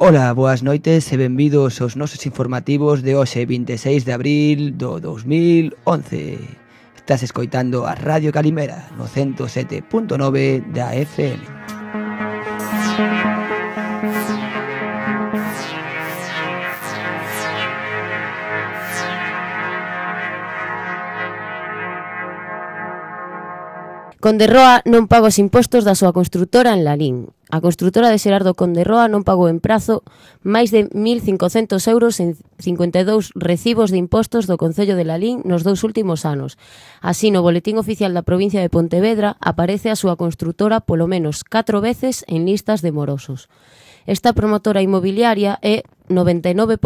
Ola, boas noites e benvidos aos nosos informativos de hoxe 26 de abril do 2011. Estás escoitando a Radio Calimera no 107.9 da FM. Conderroa non paga os impostos da súa construtora en Lalín. A construtora de Xerardo Conderroa non pagou en prazo máis de 1.500 euros en 52 recibos de impostos do Concello de Lalín nos 2 últimos anos. Así, no Boletín Oficial da provincia de Pontevedra aparece a súa construtora polo menos 4 veces en listas de morosos. Esta promotora inmobiliaria é 99%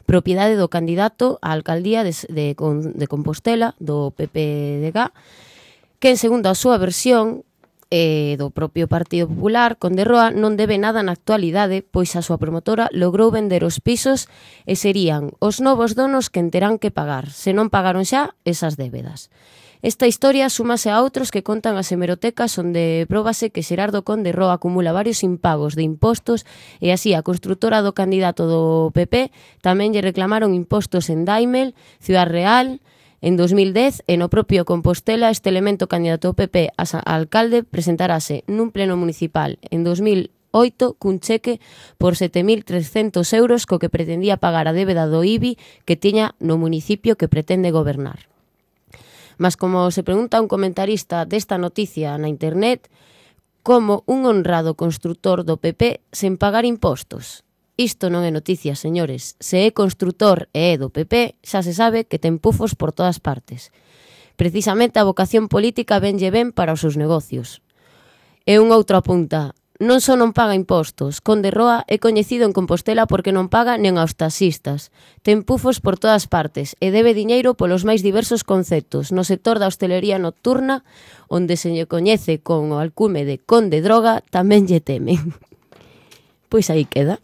propiedade do candidato á alcaldía de Compostela, do PPDG, que, segundo a súa versión do propio Partido Popular, Conderroa non debe nada na actualidade, pois a súa promotora logrou vender os pisos e serían os novos donos quen terán que pagar, se non pagaron xa esas débedas. Esta historia súmase a outros que contan as hemerotecas onde próbase que Xerardo Conderroa acumula varios impagos de impostos e así a construtora do candidato do PP tamén lle reclamaron impostos en Daimel, Ciudad Real. En 2010, e no propio Compostela, este elemento candidato ao PP a alcalde presentarase nun pleno municipal en 2008 cun cheque por 7.300 euros co que pretendía pagar a débeda do IBI que tiña no municipio que pretende gobernar. Mas como se pregunta un comentarista desta noticia na internet, como un honrado construtor do PP sen pagar impostos? Isto non é noticia, señores. Se é construtor e é do PP, xa se sabe que ten pufos por todas partes. Precisamente a vocación política venlle ben para os seus negocios. E un outro apunta, non só non paga impostos, Conderroa é coñecido en Compostela porque non paga nen aos taxistas. Ten pufos por todas partes e debe diñeiro polos máis diversos conceptos. No sector da hostelería nocturna, onde se lle coñece con o alcume de Conde Droga, tamén lle temen. Pois aí queda.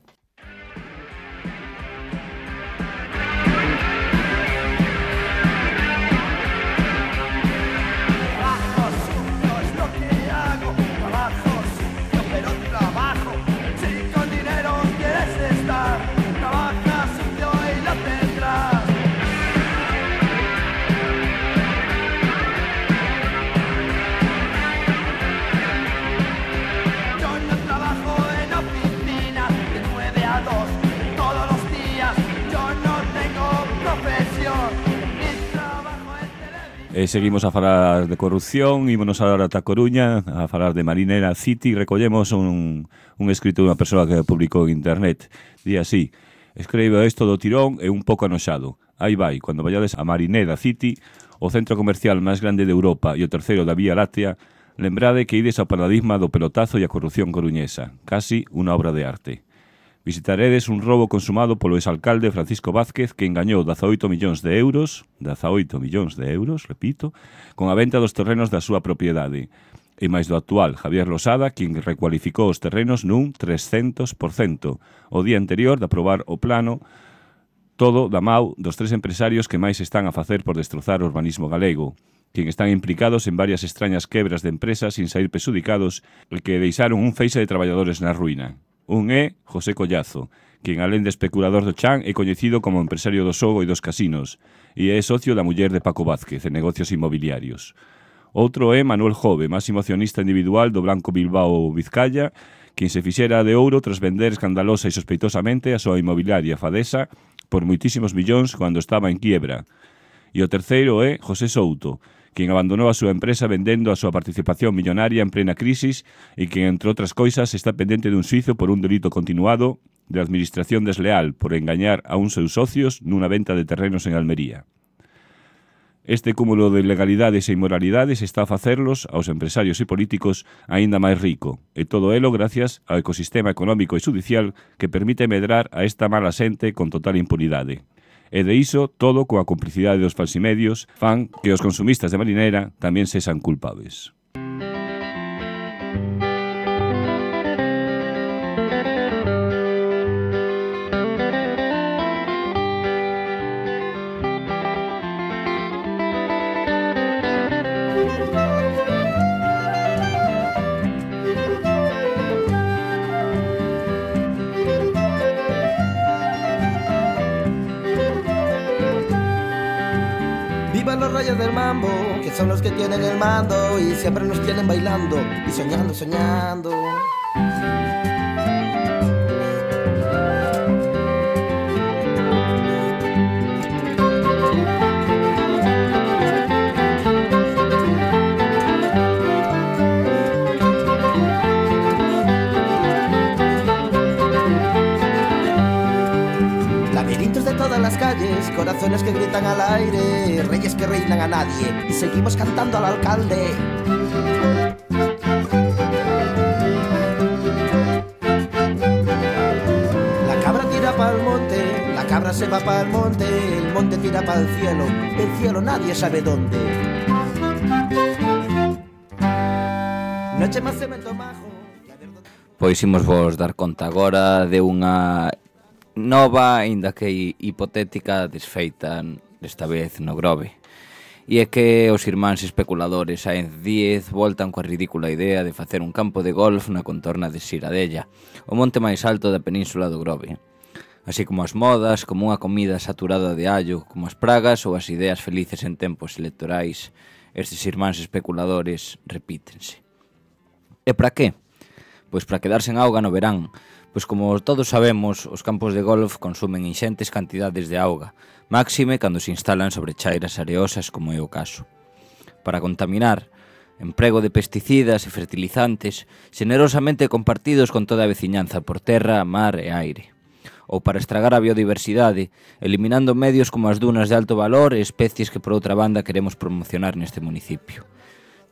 Seguimos a falar de corrupción, ímonos agora ata Coruña a falar de Marinera City. Recollemos un escrito dunha persoa que publicou en internet. Di así: escribo isto do tirón e un pouco anoxado. Aí vai, cando vallades a Marinera City, o centro comercial máis grande de Europa e o terceiro da Vía Láctea, lembrade que ides ao paradigma do pelotazo e a corrupción coruñesa, casi unha obra de arte. Visitaredes un roubo consumado polo exalcalde Francisco Vázquez que engañou 18 millóns de euros, repito, con a venta dos terrenos da súa propiedade. E máis do actual, Javier Losada, quen recualificou os terrenos nun 300%. O día anterior de aprobar o plano, todo da mau dos 3 empresarios que máis están a facer por destrozar o urbanismo galego, quen están implicados en varias extrañas quebras de empresas sin sair pesudicados e que deixaron un feixe de traballadores na ruína. Un é José Collazo, quen alén de especulador do chan é coñecido como empresario do xogo e dos casinos e é socio da muller de Paco Vázquez en negocios inmobiliarios. Outro é Manuel Jove, máximo accionista individual do Banco Bilbao Vizcaya, quen se fixera de ouro tras vender escandalosa e sospeitosamente a súa inmobiliaria Fadesa por moitísimos millóns cando estaba en quiebra. E o terceiro é José Souto, quen abandonou a súa empresa vendendo a súa participación millonaria en plena crisis e quen, entre outras coisas, está pendente dun xuízo por un delito continuado de administración desleal por engañar a uns seus socios nunha venta de terrenos en Almería. Este cúmulo de ilegalidades e inmoralidades está a facerlos aos empresarios e políticos aínda máis rico, e todo elo gracias ao ecosistema económico e judicial que permite medrar a esta mala xente con total impunidade. E de iso, todo coa complicidade dos falsimedios, fan que os consumistas de Marinera tamén sexan culpables. reyes del mambo, que son los que tienen el mando y siempre nos tienen bailando y soñando, soñando. Las calles, corazones que gritan al aire, reyes que reinan a nadie y seguimos cantando al alcalde. La cabra tira pa'l monte, la cabra se va pa'l monte, el monte tira pa'l cielo, el cielo nadie sabe dónde. Noche más cemento majo. Pois imos vos dar conta agora de unha nova, aínda que hipotética, desfeita desta vez no Grove. E é que os irmáns especuladores Sáenz Díez voltan coa ridícula idea de facer un campo de golf na contorna de Siradella, o monte máis alto da península do Grove. Así como as modas, como unha comida saturada de allo, como as pragas ou as ideas felices en tempos electorais, estes irmáns especuladores repítense. E para que? Pois para quedarse en auga no verán. Pois como todos sabemos, os campos de golf consumen inxentes cantidades de auga, máxime cando se instalan sobre chairas areosas como é o caso. Para contaminar, emprego de pesticidas e fertilizantes xenerosamente compartidos con toda a veciñanza por terra, mar e aire. Ou para estragar a biodiversidade, eliminando medios como as dunas de alto valor e especies que por outra banda queremos promocionar neste municipio.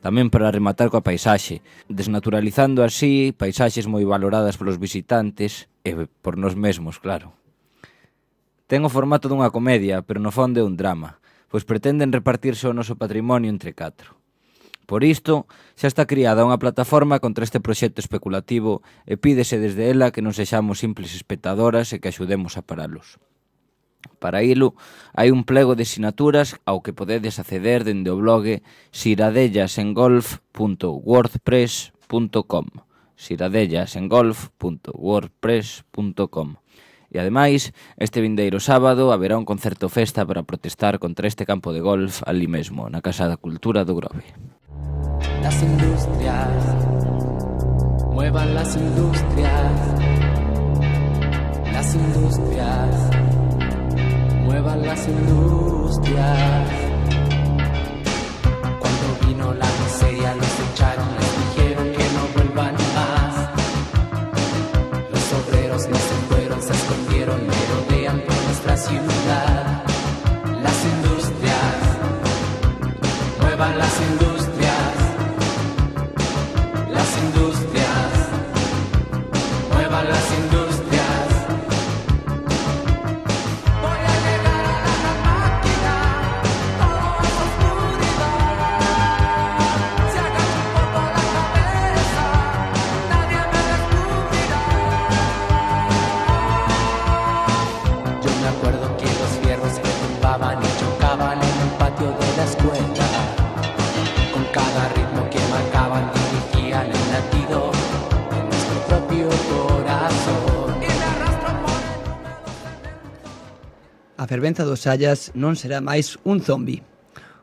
Tamén para rematar coa paisaxe, desnaturalizando así paisaxes moi valoradas polos visitantes e por nós mesmos, claro. Ten o formato dunha comedia, pero no fondo é un drama, pois pretenden repartirse o noso patrimonio entre 4. Por isto, xa está criada unha plataforma contra este proxecto especulativo e pídese desde ela que non sexamos simples espectadoras e que axudemos a paralos. Para ilo, hai un plego de sinaturas ao que podedes acceder dende o blog siradellasengolf.wordpress.com siradellasengolf.wordpress.com. E ademais, este vindeiro sábado haberá un concerto festa para protestar contra este campo de golf ali mesmo, na Casa da Cultura do Grove. Las industrias, muevan las industrias, las industrias, muevan las industrias. Cuando vino la miseria los echaron, les dijeron que no vuelvan más. Los obreros no se fueron, se escondieron, merodean por nuestra ciudad. Las industrias, muevan las industrias. Las industrias, muevan las industrias. Voy a llegar a la máquina, todo es oscuridad. Se agacha un poco la cabeza, nadie me descubrirá. Yo me acuerdo que los fierros que tumbaban y chocaban en el patio de la escuela, con cada ritmo que marcaban dirigían el latido de nuestro propio corazón. Y me arrastro por el... A fervenza dos Sallas non será máis un zombi.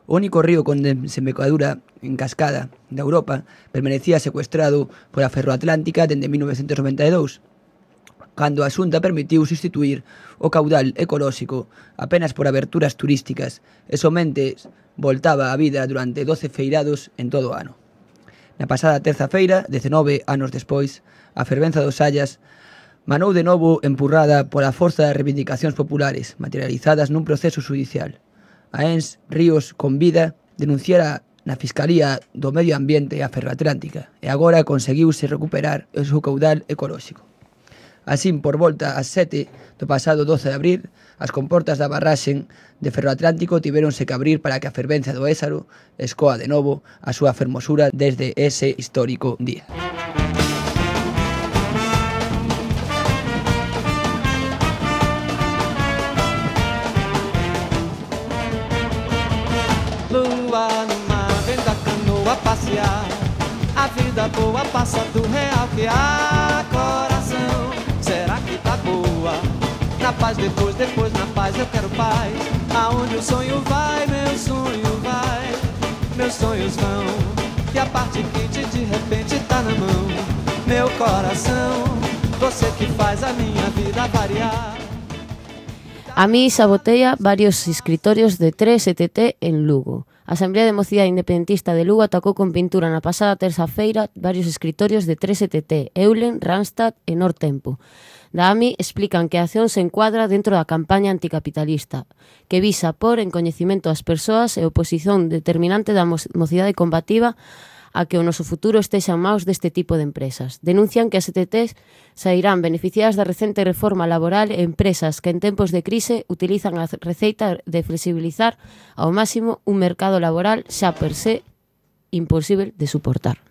O único río con desembocadura en cascada da Europa permanecía secuestrado pola Ferroatlántica dende 1992, cando a Xunta permitiu sustituir o caudal ecolóxico apenas por aberturas turísticas e somente voltaba a vida durante 12 feirados en todo o ano. Na pasada terza feira, 19 anos despois, a fervenza dos Sallas manou de novo empurrada pola forza das reivindicacións populares materializadas nun proceso judicial. A ENS Ríos Convida denunciara na Fiscalía do Medio Ambiente a Ferroatlántica e agora conseguiuse recuperar o seu caudal ecolóxico. Así, por volta ás 7 do pasado 12 de abril, as comportas da barraxen de Ferroatlántico tivéronse que abrir para que a fervenza do Ézaro escoa de novo a súa fermosura desde ese histórico día. Lua no mar, vem da canoa passear. A vida boa passa do real que há coração. Será que tá boa? Na paz depois na paz eu quero paz. Aonde o sonho vai, meu sonho vai. meus sonhos vão, e a parte quente de repente tá na mão. Meu coração, você que faz a minha vida variar. A mí sabotea varios escritorios de 3ETT en Lugo. A Asamblea de Mocidade Independentista de Lugo atacou con pintura na pasada terça-feira varios escritorios de 3ETT, Eulen, Randstad e Nortempo. Da AMI explican que a acción se encuadra dentro da campaña anticapitalista, que visa por en coñecimento das persoas e oposición determinante da mocidade combativa a que o noso futuro estexa en maus deste tipo de empresas. Denuncian que as ETTs sairán beneficiadas da recente reforma laboral e empresas que en tempos de crise utilizan a receita de flexibilizar ao máximo un mercado laboral xa per se imposible de suportar.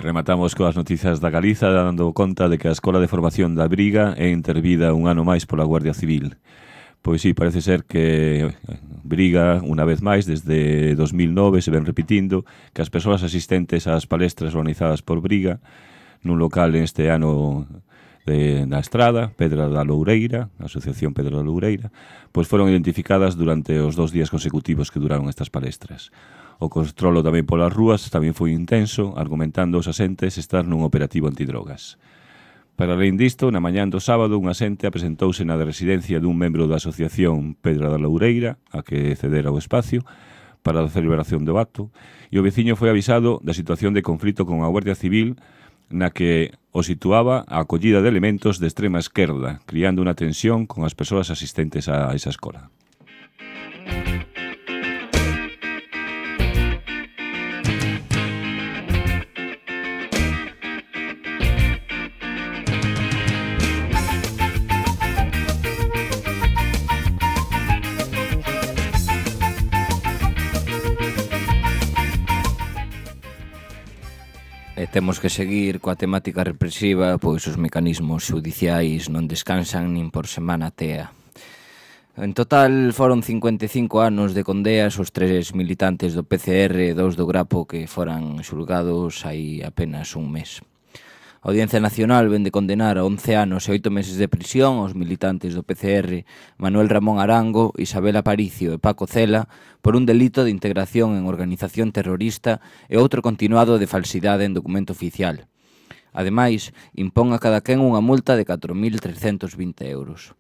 Rematamos coas noticias da Galiza, dando conta de que a Escola de Formación da Briga é intervida un ano máis pola Guardia Civil. Pois sí, parece ser que Briga, unha vez máis, desde 2009 se ven repetindo que as persoas asistentes ás palestras organizadas por Briga nun local este ano na Estrada, Pedra da Loureira, a Asociación Pedra da Loureira, pois foron identificadas durante os 2 días consecutivos que duraron estas palestras. O controlo tamén polas rúas tamén foi intenso, argumentando os asentes estar nun operativo antidrogas. Para além disto, na mañán do sábado, un asente apresentouse na residencia dun membro da Asociación Pedra da Loureira, a que cedera o espacio, para a celebración do acto, e o veciño foi avisado da situación de conflito con a Guardia Civil, na que o situaba a acollida de elementos de extrema esquerda, criando unha tensión con as persoas asistentes a esa escola. Temos que seguir coa temática represiva, pois os mecanismos xudiciais non descansan nin por semana tea. En total foron 55 anos de condeas os 3 militantes do PCR e 2 do Grapo que foran xulgados hai apenas un mes. A Audiencia Nacional ven de condenar a 11 anos e 8 meses de prisión aos militantes do PCR Manuel Ramón Arango, Isabel Aparicio e Paco Cela por un delito de integración en organización terrorista e outro continuado de falsidade en documento oficial. Ademais, impón a cada quen unha multa de 4.320 euros.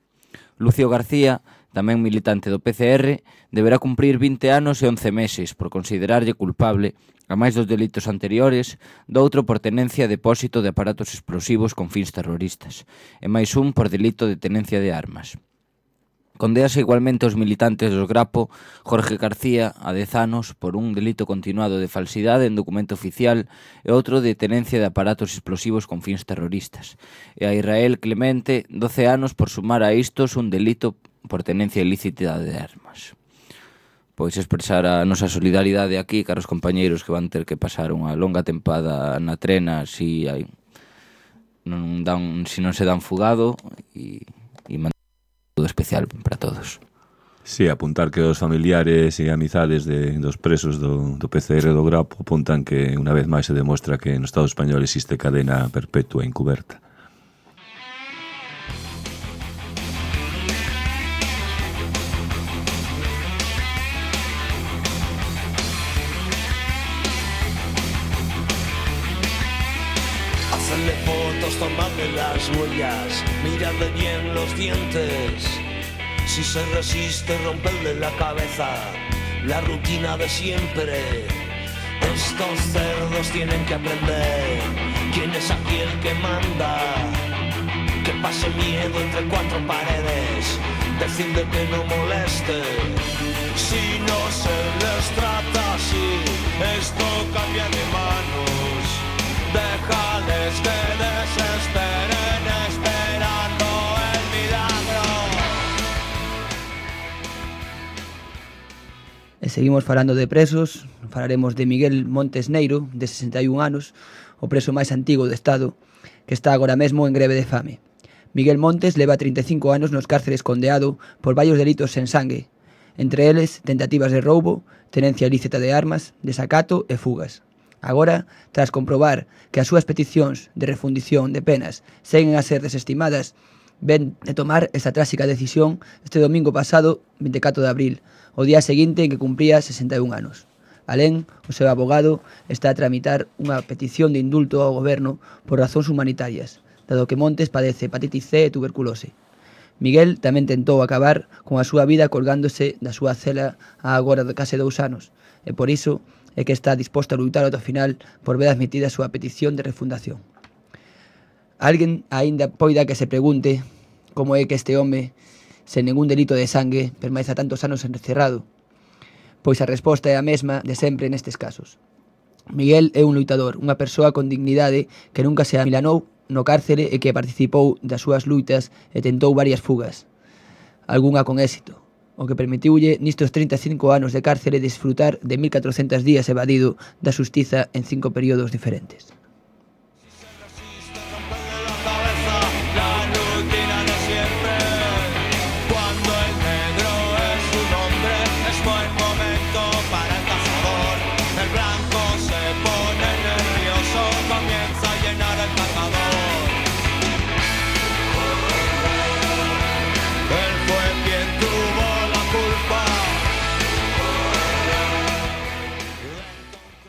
Lucio García, tamén militante do PCR, deberá cumprir 20 anos e 11 meses por considerarlle culpable, a máis dos delitos anteriores, do outro por tenencia e depósito de aparatos explosivos con fins terroristas, e máis un por delito de tenencia de armas. Condéase igualmente os militantes do Grapo, Jorge García, a 10 anos, por un delito continuado de falsidade en documento oficial e outro de tenencia de aparatos explosivos con fins terroristas, e a Israel Clemente, 12 anos, por sumar a istos un delito por tenencia ilícita de armas. Pois expresar a nosa solidaridade aquí caros compañeiros que van ter que pasar unha longa tempada na trena se non se dan fugado e mandar todo especial para todos. Sí, apuntar que os familiares e amizades dos presos do PCR do Grapo apuntan que unha vez máis se demostra que no Estado español existe cadena perpetua encuberta. Hacerle fotos, tomarle las huellas, mirarle bien los dientes. Si se resiste, romperle la cabeza, la rutina de siempre. Estos cerdos tienen que aprender quién es aquí el que manda. Que pase miedo entre 4 paredes, decirle que no moleste. Si no se les trata así, esto cambia de manos. Déjales que desesperen esperando el milagro. seguimos falando de presos, falaremos de Miguel Montes Neiro, de 61 anos, o preso máis antigo do Estado, que está agora mesmo en greve de fame. Miguel Montes leva 35 anos nos cárceres condeado por varios delitos sen sangue, entre eles tentativas de roubo, tenencia ilícita de armas, desacato e fugas. Agora, tras comprobar que as súas peticións de refundición de penas seguen a ser desestimadas, ven de tomar esta tráxica decisión este domingo pasado, 24 de abril, o día seguinte en que cumpría 61 anos. Alén, o seu abogado está a tramitar unha petición de indulto ao goberno por razóns humanitarias, dado que Montes padece hepatitis C e tuberculose. Miguel tamén tentou acabar con a súa vida colgándose da súa cela a agora de case 2 anos, e por iso é que está disposto a lutar ata o final por ver admitida a súa petición de refundación. Alguén aínda poida que se pregunte como é que este home, sen ningún delito de sangue, permanece tantos anos encerrado, pois a resposta é a mesma de sempre nestes casos. Miguel é un loitador, unha persoa con dignidade que nunca se amilanou no cárcere e que participou das súas luitas e tentou varias fugas, algunha con éxito, o que permitiulle nistos 35 anos de cárcere desfrutar de 1400 días evadido da xustiza en 5 períodos diferentes.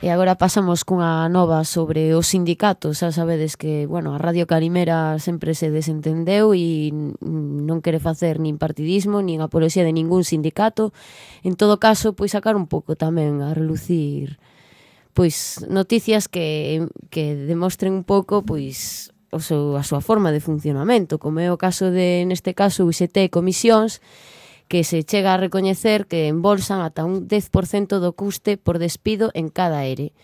E agora pasamos cunha nova sobre os sindicatos. Xa sabedes que, bueno, a Radio Calimera sempre se desentendeu e non quere facer nin partidismo, nin apoloxía de ningún sindicato. En todo caso, pois sacar un pouco tamén a relucir pois noticias que demostren un pouco pois a súa forma de funcionamento, como é o caso de, neste caso, UGT Comisións, que se chega a recoñecer que embolsan ata un 10% do custe por despido en cada ERE.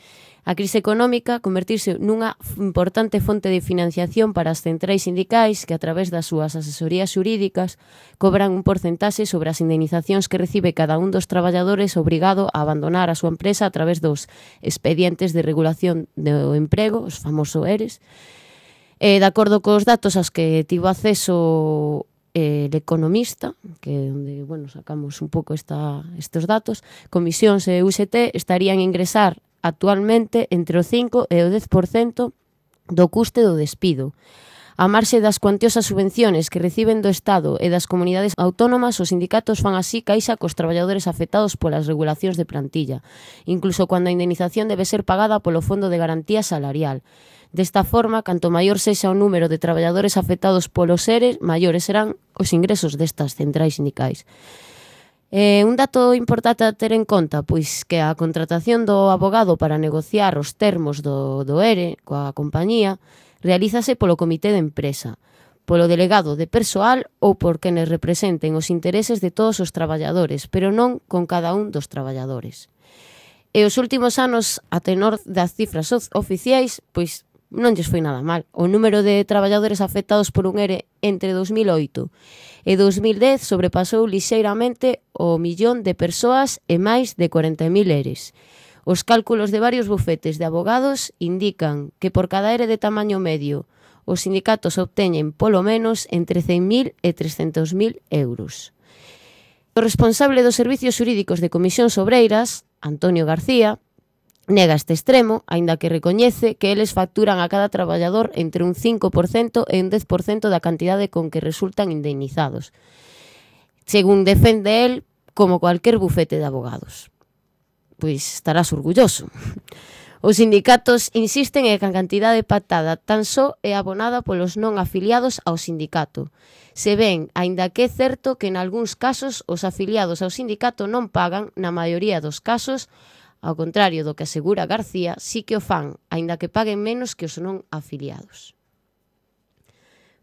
A crise económica convertirse nunha importante fonte de financiación para as centrais sindicais que, a través das súas asesorías xurídicas, cobran un porcentaxe sobre as indemnizacións que recibe cada un dos traballadores obrigado a abandonar a súa empresa a través dos expedientes de regulación do emprego, os famosos ERES. De acordo cos datos aos que tivo acceso El Economista, que é onde, bueno, sacamos un pouco estes datos, Comisións e UGT estarían a ingresar actualmente entre o 5 e o 10% do custe do despido. A marxe das cuantiosas subvenciones que reciben do Estado e das comunidades autónomas, os sindicatos fan así caixa cos traballadores afectados polas regulacións de plantilla, incluso cando a indemnización debe ser pagada polo Fondo de Garantía Salarial. Desta forma, canto maior sexa o número de traballadores afectados polos ERE, maiores serán os ingresos destas centrais sindicais. Un dato importante a ter en conta, pois que a contratación do abogado para negociar os termos do ERE coa compañía realízase polo comité de empresa, polo delegado de persoal ou por quenes representen os intereses de todos os traballadores, pero non con cada un dos traballadores. E os últimos anos, a tenor das cifras oficiais, pois non lles foi nada mal. O número de traballadores afectados por un ERE entre 2008 e 2010 sobrepasou lixeiramente o 1.000.000 de persoas e máis de 40.000 ERES. Os cálculos de varios bufetes de abogados indican que por cada ERE de tamaño medio os sindicatos obteñen polo menos entre 100.000 e 300.000 euros. O responsable dos servicios xurídicos de Comisións Obreiras, Antonio García, nega este extremo, aínda que recoñece que eles facturan a cada traballador entre un 5% e un 10% da cantidade con que resultan indemnizados, según defende el, como cualquier bufete de abogados. Pois estarás orgulloso. Os sindicatos insisten en que a cantidade pactada tan só é abonada polos non afiliados ao sindicato. Se ven, aínda que é certo que en algúns casos os afiliados ao sindicato non pagan, na maioría dos casos, ao contrario do que asegura García, sí que o fan, aínda que paguen menos que os non afiliados.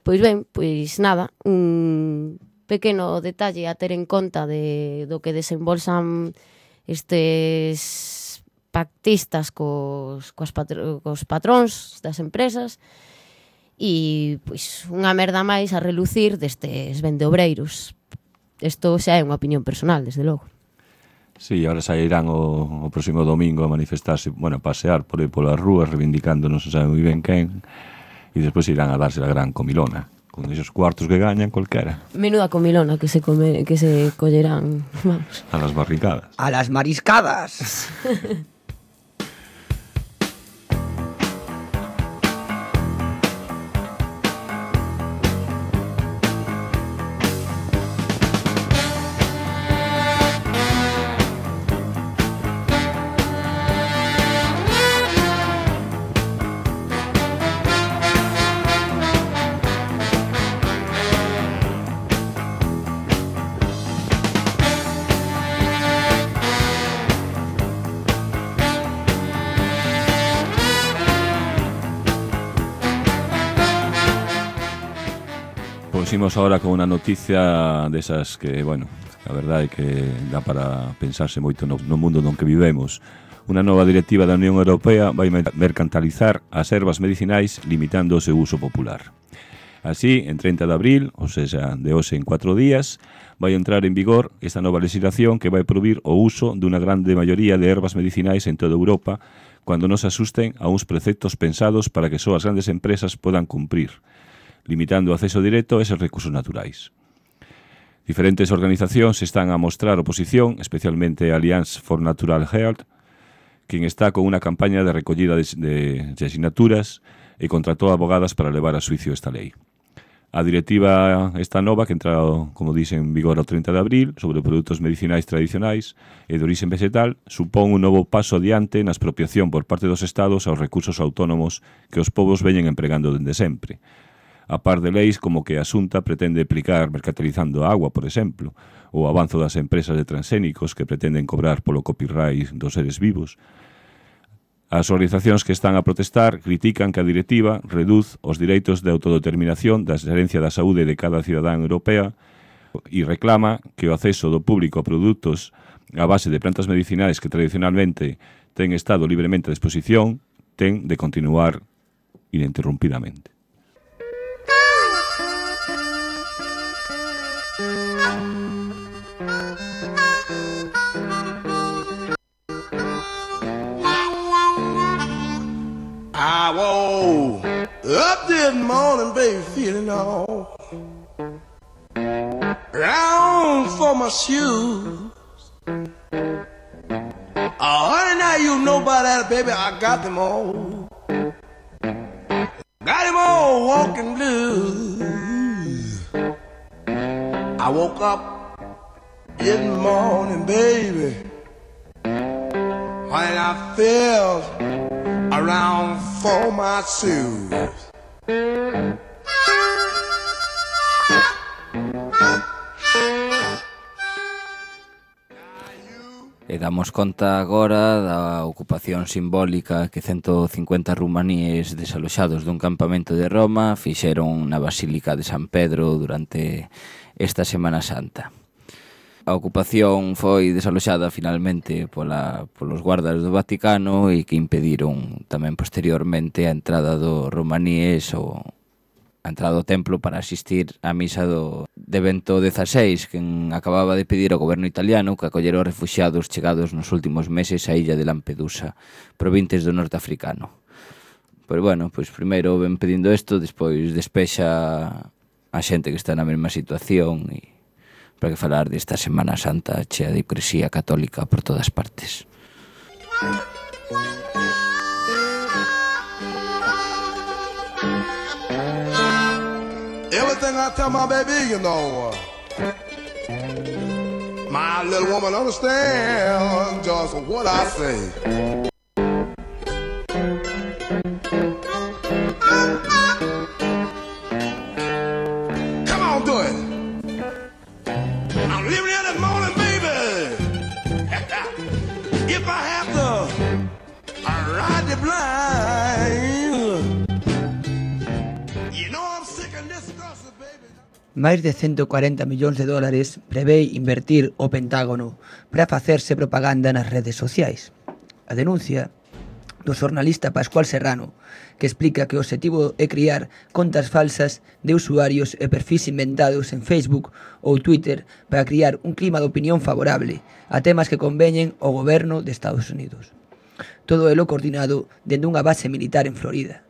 Pois ben, pois nada, un pequeno detalle a ter en conta do que desembolsan estes pactistas cos patróns das empresas e pois unha merda máis a relucir destes vendeobreiros. Isto xa é unha opinión personal, desde logo. Sí, ahora sairán o próximo domingo a manifestarse, bueno, a pasear por aí polas rúas, reivindicando non se sabe moi ben quen, e despois irán a darse a gran comilona, con esos cuartos que gañan cualquera. Menuda comilona que se collerán, vamos. A las barricadas. A las mariscadas. Imos ahora con unha noticia desas que, bueno, a verdade é que dá para pensarse moito no mundo non que vivemos. Unha nova directiva da Unión Europea vai mercantilizar as ervas medicinais limitando o seu uso popular. Así, en 30 de abril, ou seja, de hoxe en 4 días, vai entrar en vigor esta nova legislación que vai prohibir o uso dunha grande maioría de ervas medicinais en toda Europa cando non se asusten a uns preceptos pensados para que só as grandes empresas podan cumprir, limitando o acceso directo a eses recursos naturais. Diferentes organizacións están a mostrar oposición, especialmente a Alliance for Natural Health, quen está con unha campaña de recollida de asignaturas e contratou abogadas para levar a suicio esta lei. A directiva esta nova, que entra, como dixen, en vigor o 30 de abril, sobre produtos medicinais tradicionais e de origen vegetal, supón un novo paso adiante na expropiación por parte dos estados aos recursos autónomos que os povos veñen empregando dende sempre, a par de leis como que a Xunta pretende aplicar mercantilizando a agua, por exemplo, ou o avanzo das empresas de transxénicos que pretenden cobrar polo copyright dos seres vivos. As organizacións que están a protestar critican que a directiva reduz os direitos de autodeterminación da xerencia da saúde de cada cidadán europea e reclama que o acceso do público a produtos a base de plantas medicinais que tradicionalmente ten estado libremente a disposición ten de continuar ininterrumpidamente. I woke up this morning, baby, feeling all round for my shoes. Honey, now you know about that, baby, I got them all. Got them all walking blues. I woke up this morning, baby, when I felt around for my shoes. E damos conta agora da ocupación simbólica que 150 rumaníes desaloxados dun campamento de Roma fixeron na Basílica de San Pedro durante esta Semana Santa. A ocupación foi desaloxada finalmente polos guardas do Vaticano e que impediron tamén posteriormente a entrada do romaníes ou a entrada do templo para asistir á misa de Bento XVI, que acababa de pedir ao goberno italiano que acollera os refuxiados chegados nos últimos meses á illa de Lampedusa, provintes do norte africano. Pois bueno, pois primeiro ven pedindo isto, despois despexa a xente que está na mesma situación e para que falar desta Semana Santa chea de hipocresía católica por todas partes. Everything I tell my baby, you know, my little woman understands just what I say. Come on, do it. I'm leaving here this morning, baby. If I have to ride the blind, you know I'm sick and disgusted, baby. Máis de 140 millóns de dólares prevé invertir o Pentágono para facerse propaganda nas redes sociais. A denuncia do xornalista Pascual Serrano, que explica que o obxectivo é criar contas falsas de usuarios e perfis inventados en Facebook ou Twitter para criar un clima de opinión favorable a temas que conveñen ao goberno de Estados Unidos. Todo elo coordinado dende unha base militar en Florida.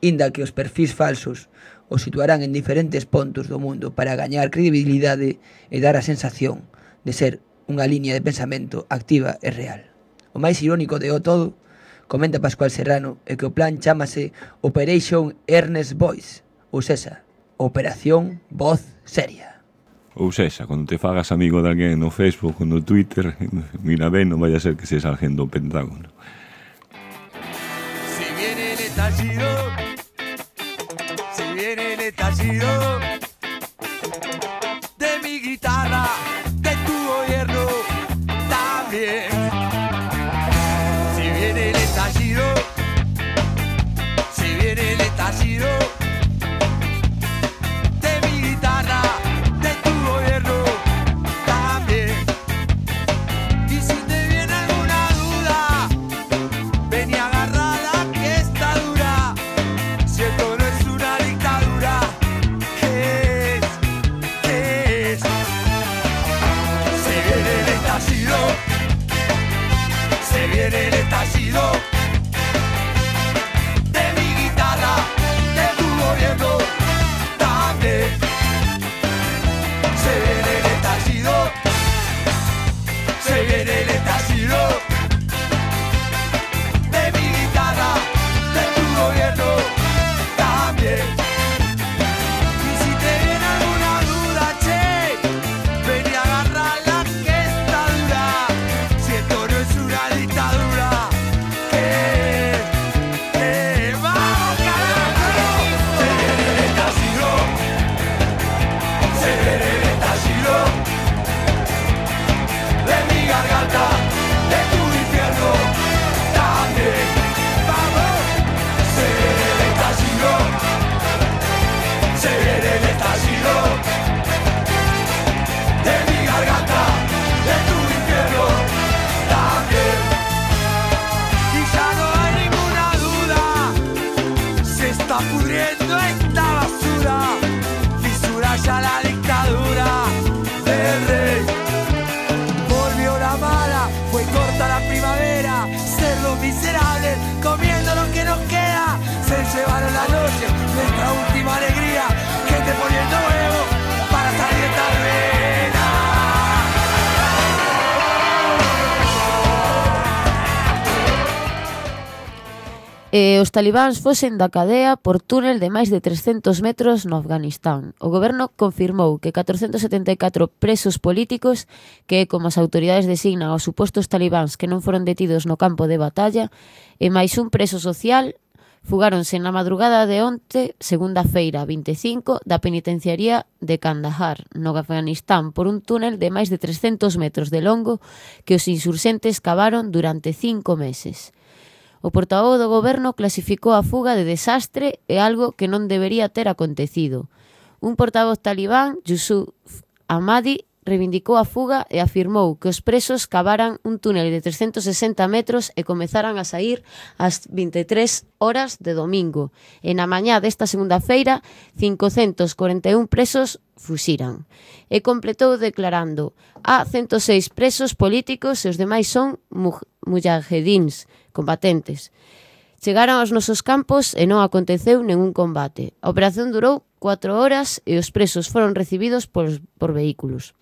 Inda que os perfis falsos os situarán en diferentes puntos do mundo para gañar credibilidade e dar a sensación de ser unha liña de pensamento activa e real. O máis irónico de o todo, comenta Pascual Serrano, é que o plan chámase Operation Earnest Voice, ou sexa, Operación Voz Seria. Ou sexa, cando te fagas amigo de alguén no Facebook ou no Twitter, mira ben, non vaya a ser que seas alguén do Pentágono. Si viene el estallido, si viene el estallido de mi guitarra, de tu gobierno también. Si viene el estallido, si viene el estallido de mi guitarra, de tu gobierno también. Y si te viene alguna duda, ven y agárrala que está dura. Si esto no es una dictadura, ¿qué es? ¿Qué es? Se viene el estallido, se viene el estallido de mi guitarra, de tu gobierno también. Se viene el estallido, se viene el estallido de mi guitarra, de tu gobierno también. Y si te viene alguna duda, che, ven y agárrala que está dura. Si esto no es una dictadura, ¿qué? ¡Vamos, carajo! Se viene el estallido, se viene el estallido de mi garganta, de tu infierno también. ¡Vamos! Se viene el estallido, se viene el estallido de mi garganta, de tu infierno también. Y ya no hay ninguna duda, se está pudriendo esta basura, fisura ya la dictadura del rey. Volvió la mala, fue corta la primavera, ser los miserables, comiendo lo que nos queda, se llevaron la noche, nuestra última alegría, gente poniendo huevo para salir de esta ruina. Os talibáns fosen da cadea por túnel de máis de 300 metros no Afganistán. O goberno confirmou que 474 presos políticos, que é como as autoridades designan aos supostos talibáns que non foron detidos no campo de batalla, e máis un preso social, fugáronse na madrugada de onte, segunda-feira 25, da penitenciaría de Kandahar, no Afganistán, por un túnel de máis de 300 metros de longo que os insurxentes cavaron durante 5 meses. O portavoz do goberno clasificou a fuga de desastre e algo que non debería ter acontecido. Un portavoz talibán, Yusuf Ahmadi, reivindicou a fuga e afirmou que os presos cavaran un túnel de 360 metros e comezaran a sair ás 23 horas de domingo. E na mañá desta segunda-feira, 541 presos fuxiran. E completou declarando: há 106 presos políticos e os demais son mujahedins, combatentes. Chegaron aos nosos campos e non aconteceu ningún combate. A operación durou 4 horas e os presos foron recibidos por vehículos.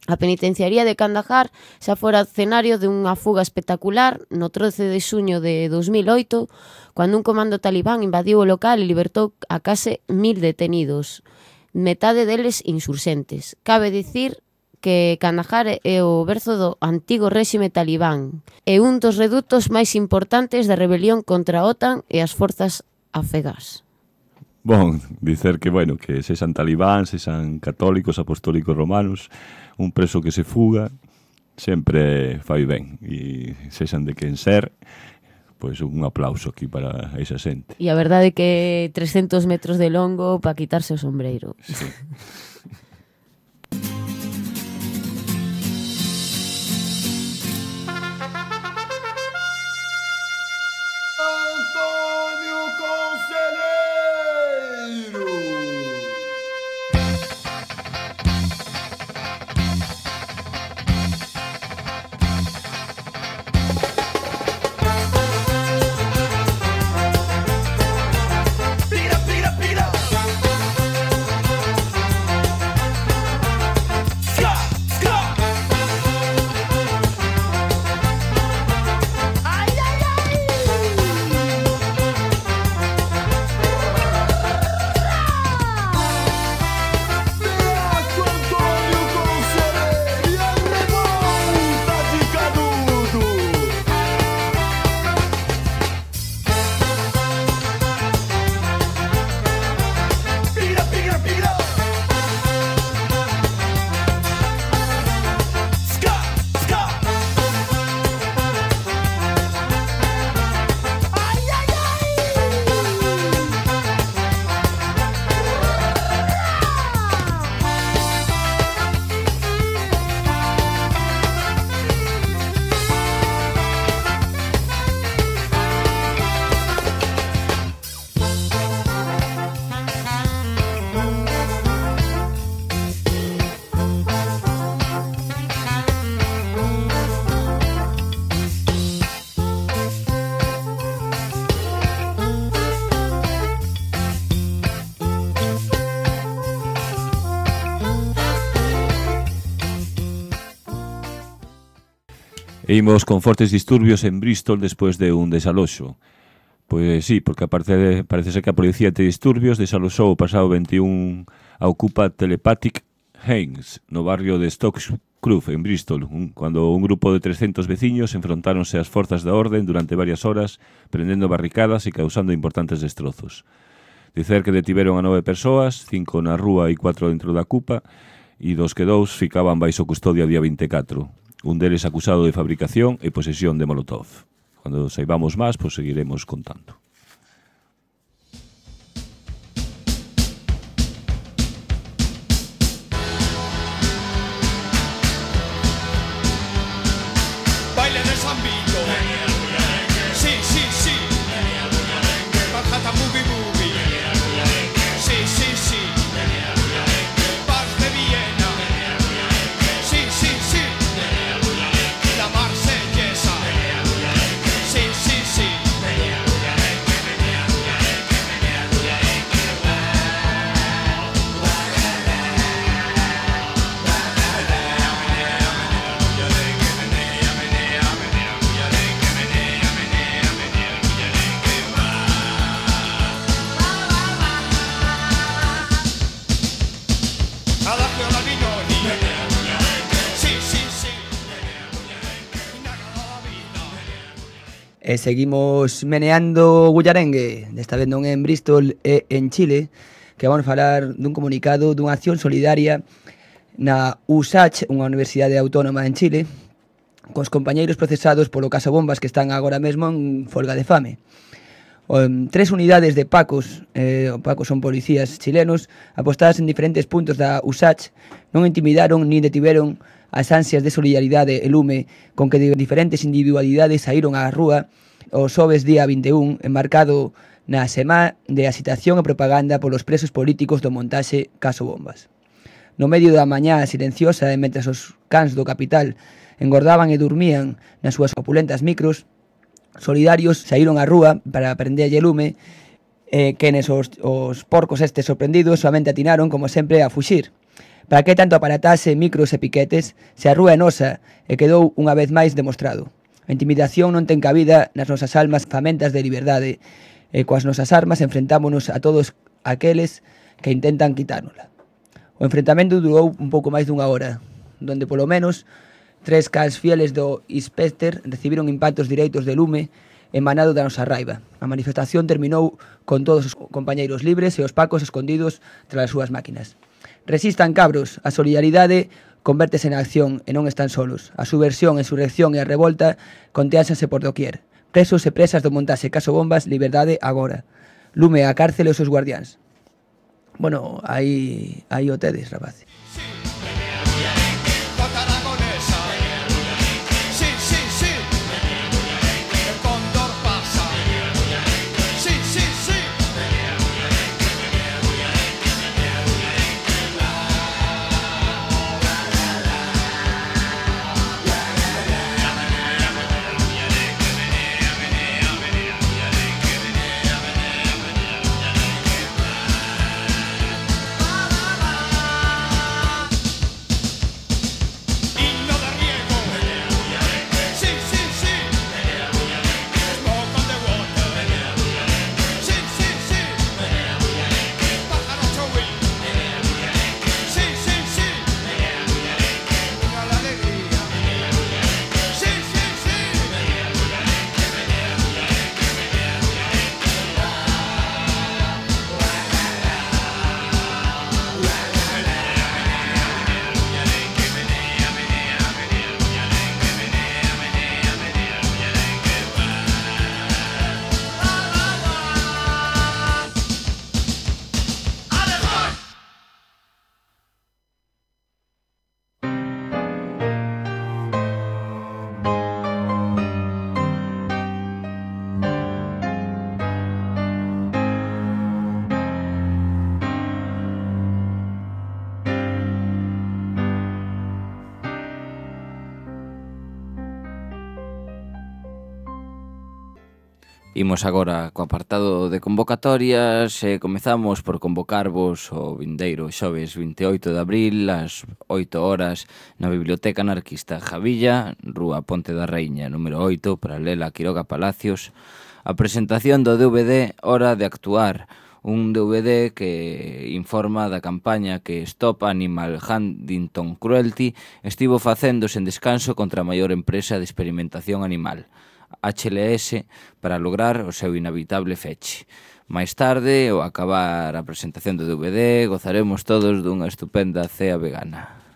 A penitenciaría de Kandahar xa fora escenario de unha fuga espectacular no 13 de xuño de 2008, cando un comando talibán invadiu o local e libertou a case 1000 detenidos, metade deles insurxentes. Cabe dicir que Kandahar é o berzo do antigo réxime talibán e un dos redutos máis importantes da rebelión contra a OTAN e as forzas afegás. Bon, dicer que, bueno, que sexan talibán, sexan católicos, apostólicos romanos, un preso que se fuga sempre fai ben. E sexan de quen ser, pois un aplauso aquí para esa xente. E a verdade é que 300 metros de longo para quitarse o sombreiro. Sí. E imos con fortes disturbios en Bristol despois de un desaloxo. Pois sí, porque parece ser que a policía de disturbios desaloxou o pasado 21 a ocupa Telepathic Haynes, no barrio de Stockscroft, en Bristol, cando un grupo de 300 veciños enfrontáronse ás forzas da orden durante varias horas, prendendo barricadas e causando importantes destrozos. Dicer que detiveron a 9 persoas, 5 na rúa e 4 dentro da cupa, e dos que 2 ficaban baixo custodia día 24. Un deles acusado de fabricación e posesión de molotov. Cando saibamos máis, pois seguiremos contando. Baile de San Vito. Sí, sí, sí. Manhattan Movie Movie. Sí, sí, sí. Bar de Viena. Sí, sí, sí. La Marsellesa. Sí, sí, sí. Adagio da Vignoli. Sí, sí, sí. E seguimos meneando Gullarengue, desta vez non en Bristol e en Chile, que vamos falar dun comunicado dunha acción solidaria na USACH, unha universidade autónoma en Chile, cos compañeiros procesados polo caso Bombas que están agora mesmo en folga de fame. 3 unidades de pacos, pacos son policías chilenos, apostadas en diferentes puntos da USACH, non intimidaron nin detiveron as ansias de solidaridade e lume con que diferentes individualidades saíron á rúa o xoves día 21, enmarcado na semá de agitación e propaganda polos presos políticos do montaxe Caso Bombas. No medio da mañá silenciosa e mentres os cans do capital engordaban e dormían nas súas opulentas micros, solidarios saíron á rúa para prenderlle lume quenes os porcos estes sorprendidos soamente atinaron, como sempre, a fuxir. Para que tanto aparatase micros e piquetes se a rúa é nosa e quedou unha vez máis demostrado. A intimidación non ten cabida nas nosas almas famentas de liberdade e coas nosas armas enfrentámonos a todos aqueles que intentan quitárnosla. O enfrentamento durou un pouco máis dunha hora, donde polo menos 3 cans fieles do Inspector recibiron impactos directos de lume emanado da nosa raiva. A manifestación terminou con todos os compañeiros libres e os pacos escondidos tras as súas máquinas. Resistan, cabros, a solidaridade convértese na acción e non están solos. A subversión, a insurrección e a revolta contéanse por doquier. Presos e presas do montaxe Caso Bombas, liberdade agora. Lume a cárcel e os seus guardiáns. Bueno, aí o tedes, rapaz. Imos agora co apartado de convocatorias e comezamos por convocarvos o vindeiro xoves 28 de abril ás 8 horas na Biblioteca Anarquista Javilla, Rúa Ponte da Reina, número 8, paralela a Quiroga Palacios, a presentación do DVD Hora de Actuar, un DVD que informa da campaña que Stop Animal Huntington Cruelty estivo facendo sen descanso contra a maior empresa de experimentación animal, HLS, para lograr o seu inhabitable feche. Mais tarde, ao acabar a presentación do DVD, gozaremos todos dunha estupenda cea vegana.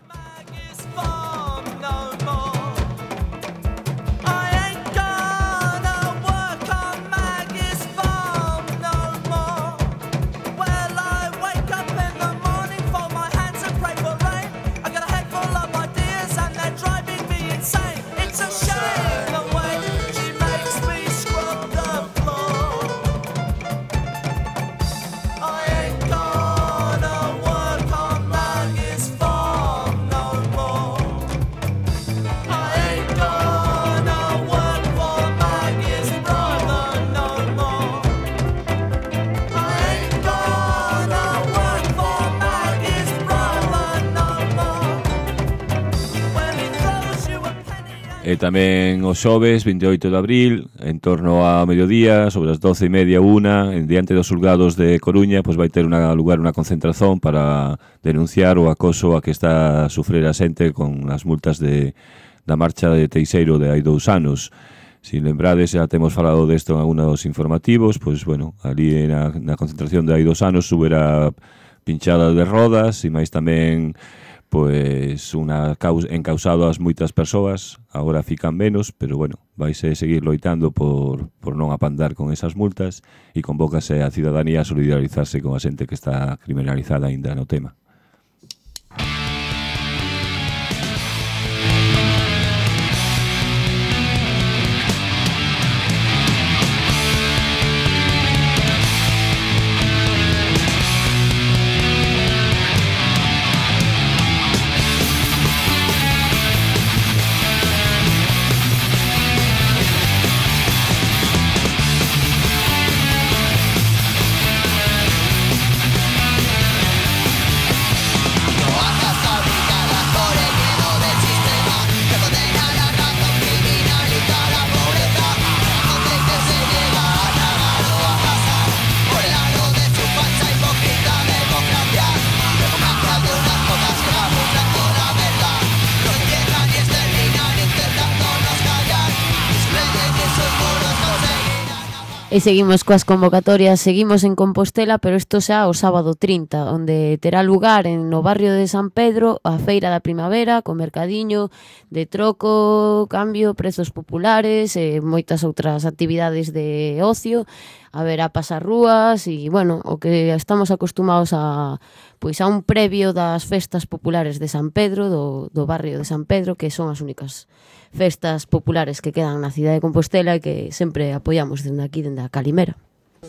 E tamén o xoves 28 de abril, en torno a mediodía, sobre as 12:30, en diante dos xulgados de Coruña, pois vai ter lugar unha concentración para denunciar o acoso a que está a sufrir a xente con as multas da marcha de Teixeiro de hai 2 anos. Si lembrades, xa temos falado desto en algunos informativos, pois, bueno, ali na concentración de hai 2 anos subera pinchada de rodas e máis tamén pois encausado as moitas persoas, agora fican menos, pero bueno, vaise seguir loitando por non apandar con esas multas e convócase a cidadanía a solidarizarse con a xente que está criminalizada aínda no tema. E seguimos coas convocatorias, seguimos en Compostela, pero isto xa o sábado 30, onde terá lugar no barrio de San Pedro a Feira da Primavera, con mercadiño de troco, cambio, prezos populares e moitas outras actividades de ocio. Haberá pasarrúas e, bueno, o que estamos acostumados a un previo das festas populares de San Pedro, do barrio de San Pedro, que son as únicas festas populares que quedan na cidade de Compostela e que sempre apoiamos dende aquí, dende a Calimera.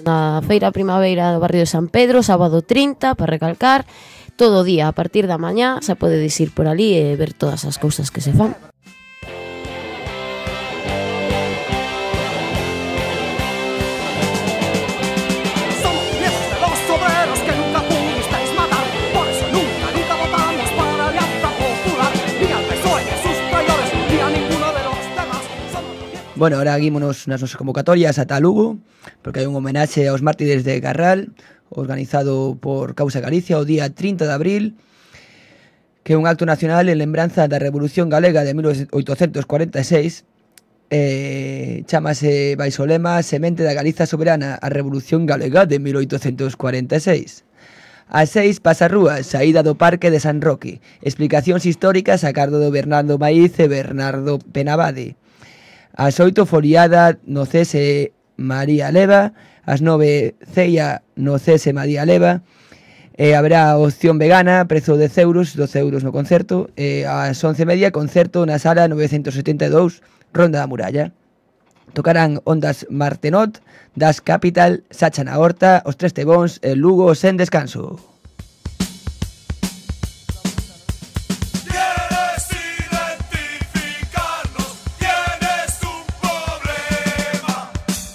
Na Feira Primavera do barrio de San Pedro, sábado 30, para recalcar, todo o día a partir da mañá se pode ir por ali e ver todas as cousas que se fan. Bueno, ahora guímonos nas nosas convocatorias ata Lugo, porque hai un homenaxe aos mártires de Carral, organizado por Causa Galicia o día 30 de abril, que é un acto nacional en lembranza da Revolución Galega de 1846, chamase baixo o lema Semente da Galiza Soberana, a Revolución Galega de 1846. As 6, pasarrúas, saída do Parque de San Roque, explicacións históricas a cargo do Bernardo Maíz e Bernardo Penabade. As 8, foliada no Cese María Leva, as 9, ceia no Cese María Leva, haberá opción vegana, prezo de 10 euros, 12 euros no concerto, ás 11:30, concerto na sala 972, Ronda da Muralla. Tocarán Ondas Martenot, Das Capital, Sacha na Horta, Os Tres Tebóns e Lugo sen descanso.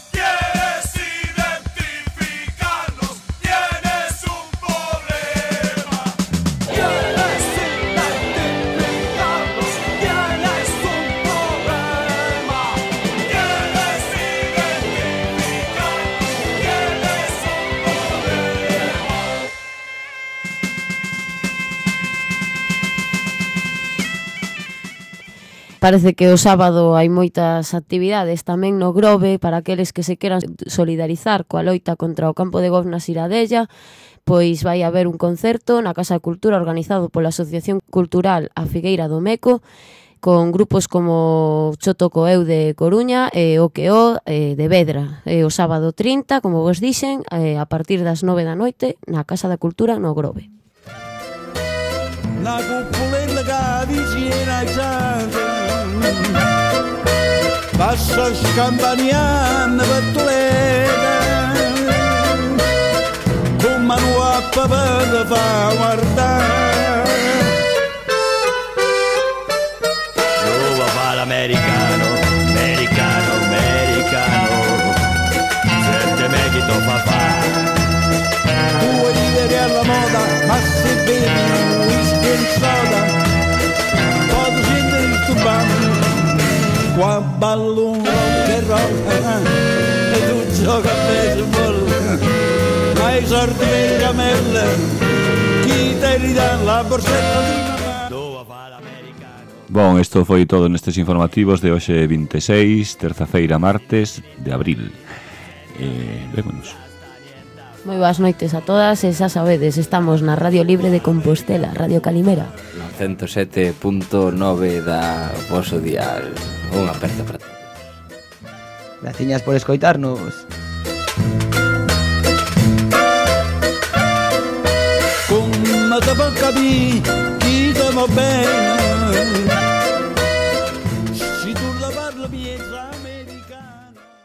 ¿Quieres Parece que o sábado hai moitas actividades tamén no Grove para aqueles que se queran solidarizar coa loita contra o campo de golf na Siradella. Pois vai haber un concerto na Casa de Cultura organizado pola Asociación Cultural A Figueira do Meco, con grupos como Choto Coeu de Coruña e o Queo de Vedra. O sábado 30, como vos dixen, a partir das 9 da noite na Casa da Cultura no Grove. Na cupolella che vicina ai santi passa scampaniana per Toledo con mano a papà fa guardare dove fa l'americano, americano, americano sente me che to fa vuoi vivere alla moda ma se bevi whisky e soda posso sentire il turbante qua ballo un rock and roll e tu gioca a baseball ma i sordi per le camelle chi te ridà la borsetta di mamma dove fa l'americano. Bon, isto foi todo nestes informativos de hoxe 26, terza-feira, martes de abril. Vémonos. Moi boas noites a todas e xa sabedes, estamos na Radio Libre de Compostela, Radio Calimera. No 107.9 da voso dial. Unha aperta para ti. Graciñas por escoitarnos. Come te può capire, chi te va bene